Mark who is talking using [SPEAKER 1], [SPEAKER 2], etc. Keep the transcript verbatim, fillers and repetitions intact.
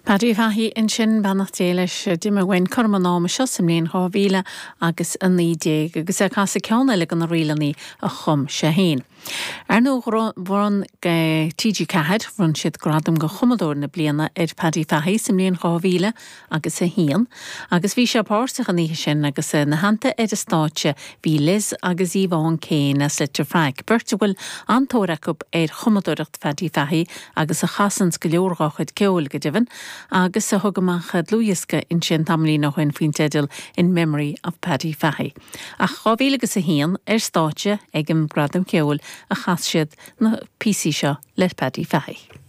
[SPEAKER 1] Paddy Fahey ansin beannacht Dé leis d'imigh uainn cothrom an ama seo sa mbliain dhá mhíle agus a naoi déag agus é ag casadh ceann eile de na ríleanna a chum sé féin. Ar ndóigh bhronn TG Ceathair bhronn siad gradam do chumadóir na bliana ar Paddy Fahey sa mbliain dhá mhíle agus a haon, agus bhí sé páirteach an oíche sin agus ina theannta ar an stáitse bhí Liz agus Yvonne Kane as Leitir Fraic, beirt a bhfuil an-tóir acu ar chumadóireacht Phaddy Fahey agus a chasanns go leor dá chuid ceoil go deimhin, agus a thug amach dlúthdhiosca ansin tamaillín ó shin faoin teideal In Memory of Paddy Fahey. Ach dhá mhíle agus a haon ar stáitse ag an Gradam Ceoil a chas siad na píosaí seo le Paddy Fahey.